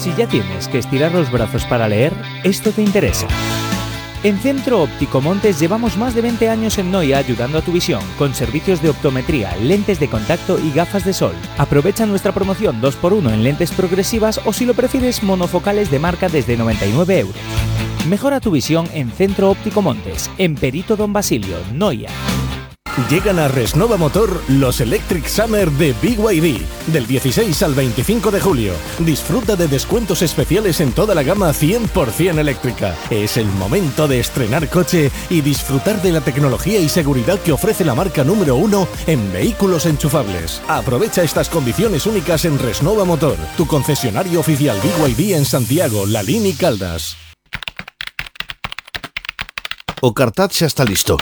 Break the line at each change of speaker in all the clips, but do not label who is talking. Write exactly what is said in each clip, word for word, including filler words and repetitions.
Si ya tienes que estirar los brazos para leer, esto te interesa. En Centro Óptico Montes llevamos más de veinte años en Noia ayudando a tu visión, con servicios de optometría, lentes de contacto y gafas de sol. Aprovecha nuestra promoción dos por uno en lentes progresivas o, si lo prefieres, monofocales de marca desde noventa y nueve euros. Mejora tu visión en Centro Óptico Montes, en Perito Don Basilio, Noia.
Llegan a Resnova Motor los Electric Summer de B Y D, del dieciséis al veinticinco de julio. Disfruta de descuentos especiales en toda la gama cien por ciento eléctrica. Es el momento de estrenar coche y disfrutar de la tecnología y seguridad que ofrece la marca número uno en vehículos enchufables. Aprovecha estas condiciones únicas en Resnova Motor, tu concesionario oficial B Y D en Santiago, Lalín y Caldas.
O cartaz xa está listo.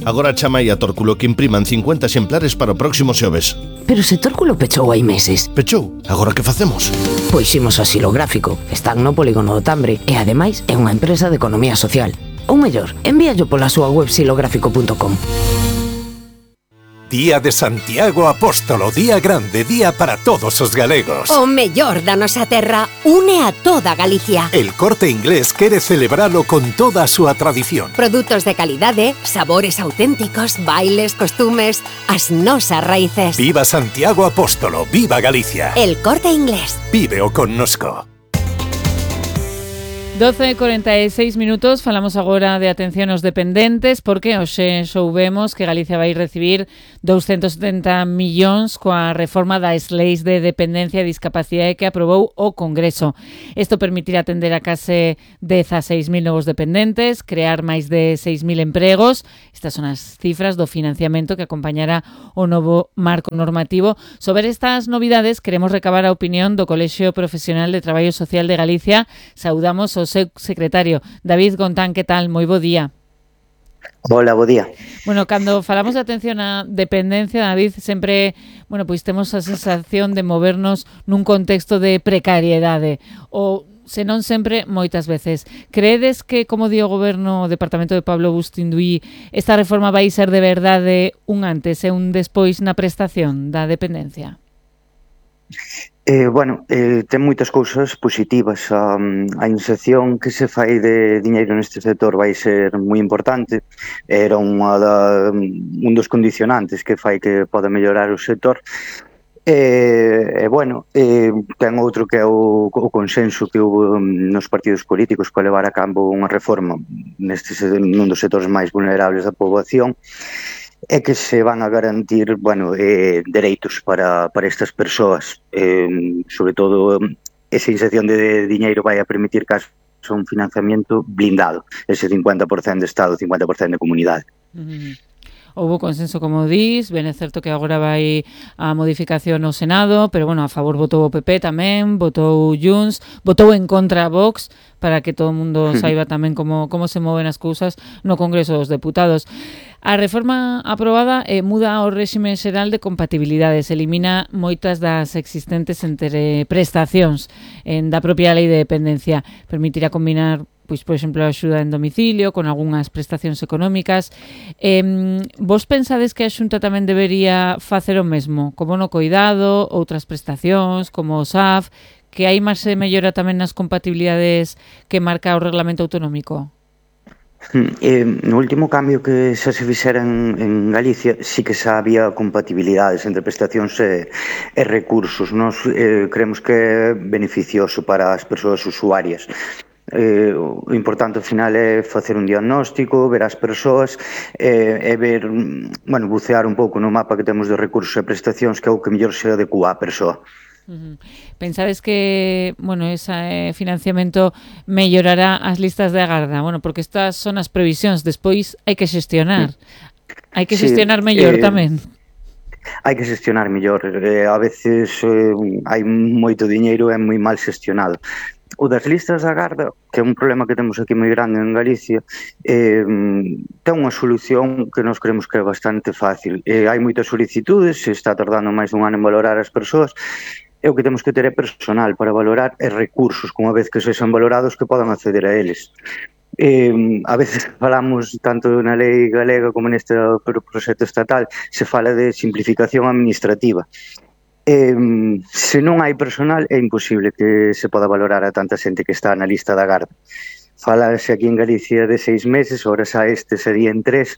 Agora chamai a Tórculo que impriman cincuenta exemplares para o próximo xoves.
Pero se Tórculo pechou hai meses.
Pechou? Agora que facemos?
Pois imos a Xilográfico. Están no polígono do Tambre e ademais é unha empresa de economía social. Ou mellor, envíallo pola súa web xilográfico punto com.
Día de Santiago Apóstolo, día grande, día para todos os galegos.
O mellor da nosa terra une a toda Galicia.
El Corte Inglés quere celebralo con toda a súa tradición.
Produtos de calidade, sabores auténticos, bailes, costumes, as nosas raíces.
Viva Santiago Apóstolo, viva Galicia.
El Corte Inglés.
Víveo connosco.
doce e corenta e seis minutos, falamos agora de atención aos dependentes, porque hoxe soubemos que Galicia vai recibir doscientos setenta millóns coa reforma das leis de dependencia e discapacidade que aprobou o Congreso. Isto permitirá atender a case dezaseis mil novos dependentes, crear máis de seis mil empregos. Estas son as cifras do financiamento que acompañará o novo marco normativo. Sobre estas novidades queremos recabar a opinión do Colexio Profesional de Traballo Social de Galicia. Saudamos o seu secretario, David Gontán. Que tal? Moi bo día.
Hola, bo día.
Bueno, cando falamos de atención á dependencia, David, sempre, bueno, pois temos a sensación de movernos nun contexto de precariedade, ou senón sempre moitas veces. Creedes que, como di o Goberno, o Departamento de Pablo Bustinduí, esta reforma vai ser de verdade un antes e un despois na prestación da dependencia?
Eh, bueno, eh, ten moitas cousas positivas. A, a inserción que se fai de diñeiro neste sector vai ser moi importante. Era unha da, un dos condicionantes que fai que poda mellorar o sector. E, eh, bueno, eh, ten outro que é o, o consenso que houve nos partidos políticos para levar a cabo unha reforma neste, nun dos sectores máis vulnerables da poboación, é que se van a garantir, bueno, eh, dereitos para, para estas persoas. Eh, sobre todo, esa inserción de diñeiro vai a permitir que haxa un financiamento blindado, ese cincuenta por cento de Estado, cincuenta por cento de comunidade.
Uh-huh. Houbo consenso, como dís, ben é certo que agora vai a modificación no Senado, pero, bueno, a favor votou o P P tamén, votou Junts, votou en contra a Vox, para que todo o mundo saiba tamén como, como se moven as cousas no Congreso dos Deputados. A reforma aprobada eh, muda o réxime xeral de compatibilidades, elimina moitas das existentes entre prestacións en da propia lei de dependencia, permitirá combinar, pois, por exemplo, a axuda en domicilio con algunhas prestacións económicas. Eh, vos pensades que a Xunta tamén debería facer o mesmo, como no coidado, outras prestacións, como o S A F, que hai máis se mellora tamén nas compatibilidades que marca o Reglamento Autonómico?
Eh, no último cambio que xa se fixera en, en Galicia sí que xa había compatibilidades entre prestacións e, e recursos. Nos eh, creemos que é beneficioso para as persoas usuarias. Eh, o importante ao final é facer un diagnóstico, ver as persoas eh, e ver, bueno, bucear un pouco no mapa que temos de recursos e prestacións, que é o que mellor se adecua á persoa.
Uh-huh. Pensades que, bueno, ese eh, financiamento mellorará as listas de agarda? Bueno, porque estas son as previsións, despois hai que xestionar. Hai que xestionar sí, mellor eh, tamén.
Hai que xestionar mellor. Eh, a veces eh, hai moito diñeiro e moi mal xestionado. O das listas de agarda, que é un problema que temos aquí moi grande en Galicia, eh, ten unha solución que nos creemos que é bastante fácil. Eh, hai moitas solicitudes, se está tardando máis dun ano en valorar as persoas, e o que temos que ter é personal para valorar e recursos, como a vez que sexan valorados, que podan acceder a eles. Eh, a veces falamos, tanto na lei galega como neste proxecto estatal, se fala de simplificación administrativa. Eh, se non hai personal é imposible que se poda valorar a tanta xente que está na lista da garda. Falase aquí en Galicia de seis meses, ora xa este serían tres,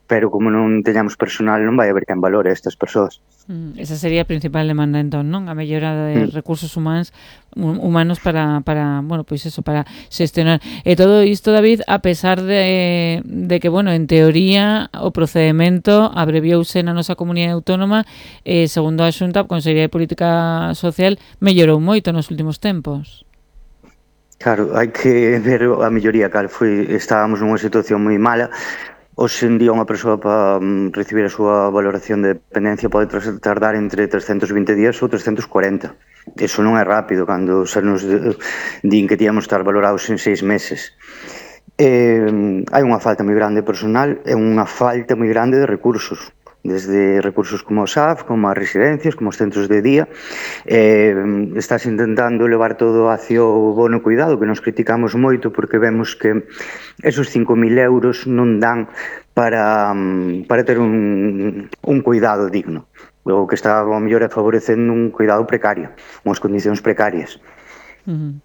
pero como non teñamos personal non vai haber quen valore a estas persoas.
Mm, esa sería a principal demanda entón, non? A mellora de mm. recursos humanos humanos para, para, bueno, pois eso, para xestionar. E todo isto, David, a pesar de, de que, bueno, en teoría o procedimento abreviouse na nosa comunidade autónoma, e segundo a Xunta, a Consellería de Política Social mellorou moito nos últimos tempos.
Claro, hai que ver a melloría, cal foi, estábamos nunha situación moi mala. Hoxe en día unha persoa para um, recibir a súa valoración de dependencia pode tardar entre trescentos vinte días ou trescentos cuarenta. Eso non é rápido, cando se nos din que tíamos estar valorados en seis meses. Eh, hai unha falta moi grande de personal e unha falta moi grande de recursos, desde recursos como o S A F, como as residencias, como os centros de día. Eh, estás intentando levar todo hacia o bono cuidado, que nos criticamos moito porque vemos que esos cinco mil euros non dan para, para ter un, un cuidado digno. O que está ao mellor é favorecendo un cuidado precario, unhas condicións precarias.
Uh-huh.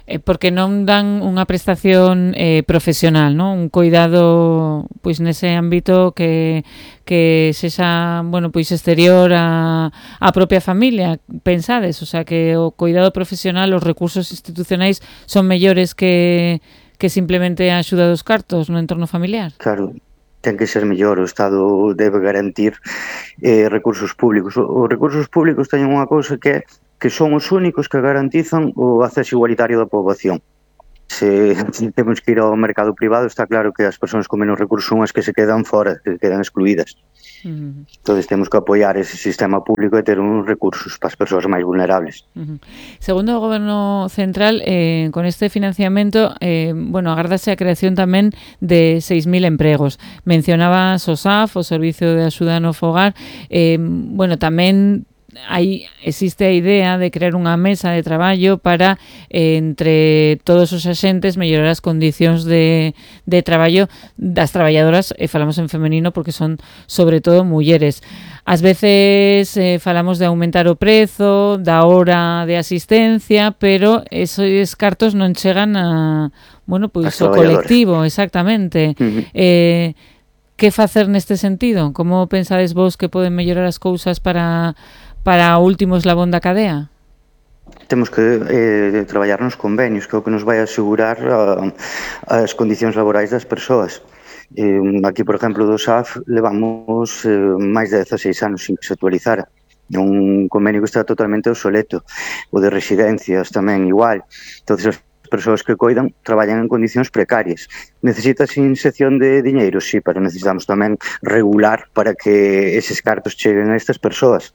Eh, porque non dan unha prestación eh, profesional, non? Un cuidado pois nese ámbito que que sexa, bueno, pois exterior a a propia familia, pensades, o sea, que o cuidado profesional, os recursos institucionais son mellores que que simplemente a axuda dos cartos no entorno familiar.
Claro, ten que ser mellor, o Estado debe garantir eh, recursos públicos. Os recursos públicos teñen unha cousa que é que son os únicos que garantizan o acceso igualitario da poboación. Se, se temos que ir ao mercado privado, está claro que as persoas con menos recursos son as que se quedan fora, que quedan excluídas. Uh-huh. Entón, temos que apoiar ese sistema público e ter uns recursos para as persoas máis vulnerables.
Uh-huh. Segundo o Goberno Central, eh, con este financiamento, eh, bueno, agárdase a creación tamén de seis mil empregos. Mencionabas o S A F, o Servicio de Axuda no Fogar, eh, bueno, tamén aí existe a idea de crear unha mesa de traballo para, eh, entre todos os axentes, mellorar as condicións de, de traballo das traballadoras, e falamos en femenino porque son sobre todo mulleres. Ás veces eh, falamos de aumentar o prezo, da hora de asistencia, pero esos cartos non chegan a, bueno, pois o colectivo, exactamente. Uh-huh. Eh, que facer neste sentido? Como pensades vos que poden mellorar as cousas para para o último eslabón da cadea?
Temos que eh, traballar nos convenios, que é o que nos vai asegurar a, as condicións laborais das persoas. Eh, aquí, por exemplo, do S A F levamos eh, máis de dezaseis anos sin que se actualizara. É un convenio que está totalmente obsoleto. O de residencias tamén igual. Entón, as persoas que coidan traballan en condicións precarias. Necesitas inxección de diñeiro? Sí, pero necesitamos tamén regular para que eses cartos cheguen a estas persoas.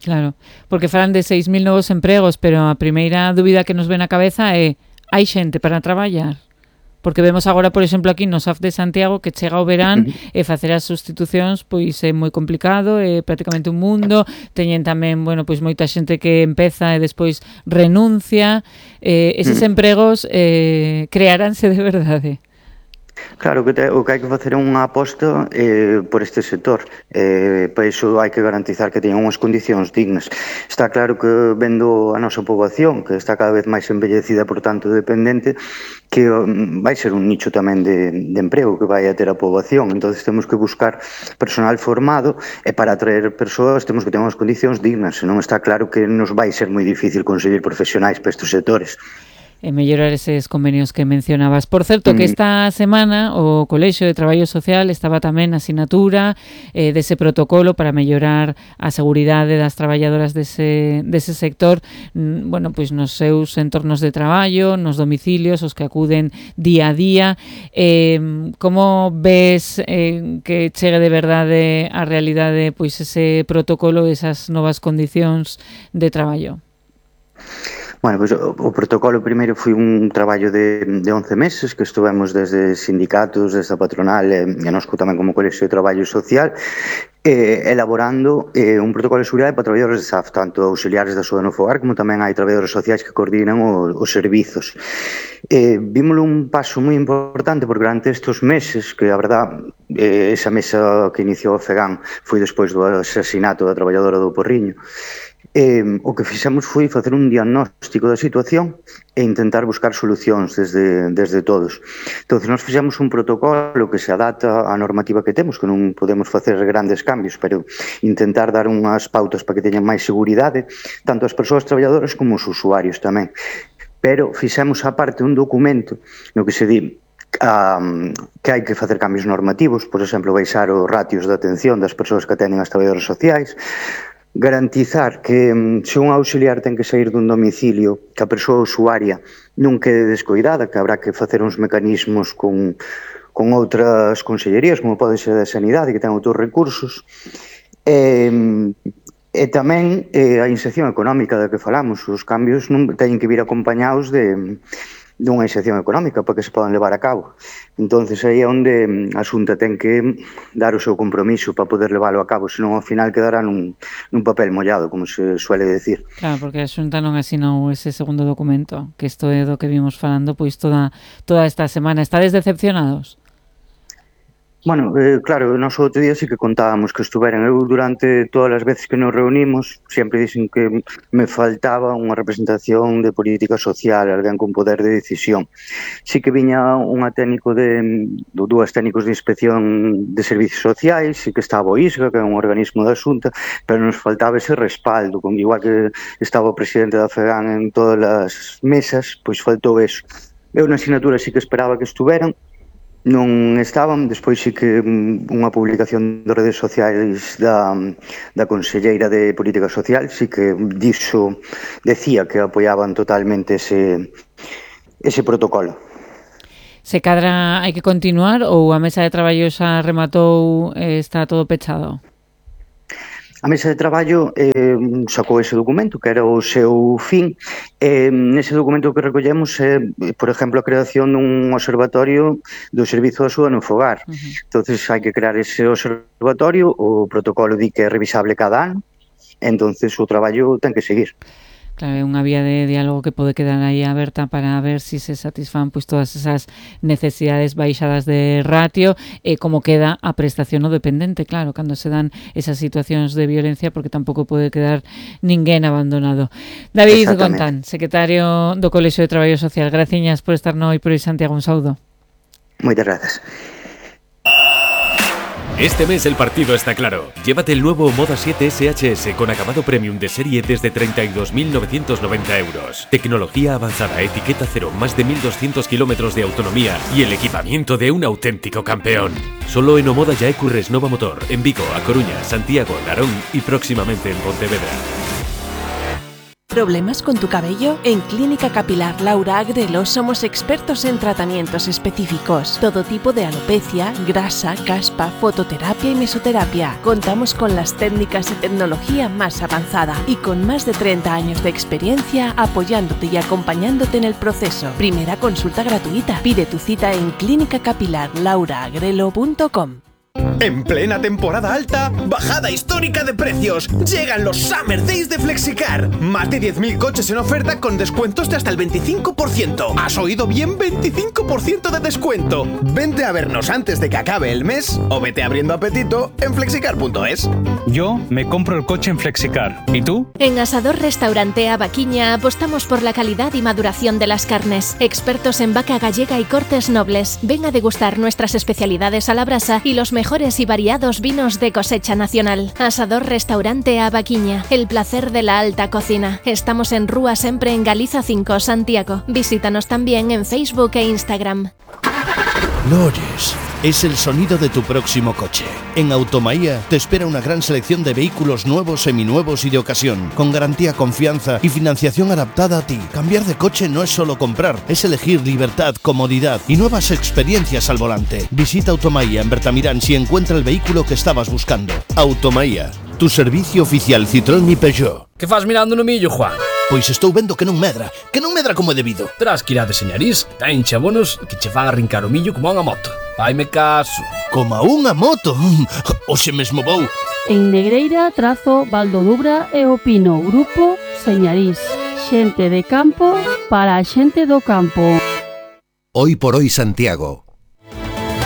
Claro, porque falan de seis mil novos empregos, pero a primeira dúbida que nos ven á cabeza é: hai xente para traballar? Porque vemos agora, por exemplo, aquí no S A F de Santiago que chega o verán e facer as sustitucións pois é moi complicado, é prácticamente un mundo. Teñen tamén, bueno, pois moita xente que empeza e despois renuncia. Eh, eses empregos eh, crearánse de verdade?
Claro, que te, o que hai que facer é unha aposta eh, por este sector. Eh, para iso hai que garantizar que teñan unhas condicións dignas. Está claro que vendo a nosa poboación, que está cada vez máis envellecida, por tanto dependente, que um, vai ser un nicho tamén de, de emprego que vai a ter a poboación. Entón temos que buscar personal formado, e para atraer persoas temos que ter unhas condicións dignas. Senón está claro que nos vai ser moi difícil conseguir profesionais para estes sectores.
E mellorar eses convenios que mencionabas. Por certo, que esta semana o Colexio de Traballo Social estaba tamén na sinatura eh, dese protocolo para mellorar a seguridade das traballadoras dese, dese sector, mm, bueno, pois nos seus entornos de traballo, nos domicilios, os que acuden día a día. Eh, como ves eh, que chegue de verdade a realidade pois ese protocolo, esas novas condicións de traballo?
Bueno, pues, o, o protocolo primeiro foi un traballo de, de once meses que estuvemos desde sindicatos, desde a patronal e, e nos tamén como Colexio de Traballo Social eh, elaborando eh, un protocolo de seguridade para traballadores de S A F, tanto auxiliares da Axuda no Fogar como tamén hai traballadores sociais que coordinan o, os servizos. Eh, vímoslo un paso moi importante porque durante estes meses, que a verdad eh, esa mesa que iniciou o FEGAN foi despois do asasinato da traballadora do Porriño, Eh, o que fixemos foi facer un diagnóstico da situación e intentar buscar solucións desde, desde todos. Entón, nós fixemos un protocolo que se adapta á normativa que temos, que non podemos facer grandes cambios, pero intentar dar unhas pautas para que teñan máis seguridade, tanto as persoas traballadoras como os usuarios tamén. Pero fixemos aparte un documento no que se di Um, que hai que facer cambios normativos, por exemplo, baixar os ratios de atención das persoas que atenden as traballadoras sociais, garantizar que se un auxiliar ten que sair dun domicilio, que a persoa usuaria non quede descoidada, que habrá que facer uns mecanismos con, con outras consellerías, como pode ser a Sanidade, que ten outros recursos, e, e tamén eh, a inserción económica da que falamos. Os cambios non teñen que vir acompañados de dunha inserción económica para que se podan levar a cabo. Entonces aí é onde a Xunta ten que dar o seu compromiso para poder leválo a cabo, senón ao final quedará nun, nun papel mollado, como se suele decir.
Claro, porque a Xunta non asinou ese segundo documento, que isto é do que vimos falando pois toda, toda esta semana. Estades decepcionados?
Bueno, eh, claro, nós outro día sí que contábamos que estuveran. Eu durante todas as veces que nos reunimos sempre dixen que me faltaba unha representación de política social, alguén con poder de decisión. Sí que viña unha técnico de, dúas técnicos de inspección de servicios sociais, sí que estaba o ISGA, que é un organismo da Xunta, pero nos faltaba ese respaldo, como igual que estaba o presidente da FEGAN en todas as mesas, pois faltou eso. Eu na asignatura sí que esperaba que estuveran, non estaban. Despois sí que unha publicación de redes sociais da, da Conselleira de Política Social sí que dixo, decía que apoiaban totalmente ese, ese protocolo.
Se cadra hai que continuar ou a mesa de traballo xa rematou e está todo pechado?
A mesa de traballo eh, sacou ese documento, que era o seu fin. Eh, nese documento que recollemos é, eh, por exemplo, a creación dun observatorio do Servizo de Axuda no Fogar. Uh-huh. Entonces hai que crear ese observatorio, o protocolo di que é revisable cada ano, entonces o traballo ten que seguir.
Claro, é unha vía de diálogo que pode quedar aí aberta para ver si se satisfan pois todas esas necesidades baixadas de ratio e como queda a prestación no dependente, claro, cando se dan esas situacións de violencia, porque tampouco pode quedar ninguén abandonado. David Gontán, secretario do Colexio de Traballo Social, graciñas por estar no Hoy por Hoy Santiago, un saúdo.
Moitas grazas.
Este mes el partido está claro. Llévate el nuevo Moda siete S H S con acabado premium de serie desde treinta y dos mil novecientos noventa euros. Tecnología avanzada, etiqueta cero, más de mil doscientos kilómetros de autonomía y el equipamiento de un auténtico campeón. Solo en Omoda Yaecu Resnova Motor, en Vigo, A Coruña, Santiago, Narón y próximamente en Pontevedra.
¿Problemas con tu cabello? En Clínica Capilar Laura Agrelo somos expertos en tratamientos específicos. Todo tipo de alopecia, grasa, caspa, fototerapia y mesoterapia. Contamos con las técnicas y tecnología más avanzada y con más de treinta años de experiencia apoyándote y acompañándote en el proceso. Primera consulta gratuita. Pide tu cita en clínica capilar laura agrelo punto com.
En plena temporada alta, bajada histórica de precios. Llegan los Summer Days de Flexicar. Más de diez mil coches en oferta con descuentos de hasta el veinticinco por ciento. ¿Has oído bien? veinticinco por ciento de descuento. Vente a vernos antes de que acabe el mes o vete abriendo apetito en flexicar punto es.
Yo me compro el coche en Flexicar. ¿Y tú?
En Asador Restaurante Avaquiña apostamos por la calidad y maduración de las carnes. Expertos en vaca gallega y cortes nobles. Ven a degustar nuestras especialidades a la brasa y los mejores y variados vinos de cosecha nacional. Asador Restaurante Avaquiña, el placer de la alta cocina. Estamos en Rúa Sempre en Galiza cinco, Santiago. Visítanos también en Facebook e Instagram.
¿Lo oyes? Es el sonido de tu próximo coche. En Automaía te espera una gran selección de vehículos nuevos, seminuevos y de ocasión, con garantía, confianza y financiación adaptada a ti. Cambiar de coche no es solo comprar, es elegir libertad, comodidad y nuevas experiencias al volante. Visita Automaía en Bertamirán si encuentra el vehículo que estabas buscando. Automaía, tu servicio oficial Citroën y Peugeot.
Que faz mirando no millo, Juan?
Pois estou vendo que non medra, que non medra como é debido.
Terás que ir a deseñariz, ten chabonos que che van a arrincar o millo como a unha moto. Vaime caso.
Como a unha moto? Oxe mesmo vou.
En Negreira, Trazo, Valdodubra e Opino, Grupo Señariz. Xente de campo para a xente do campo.
Hoy por Hoy Santiago,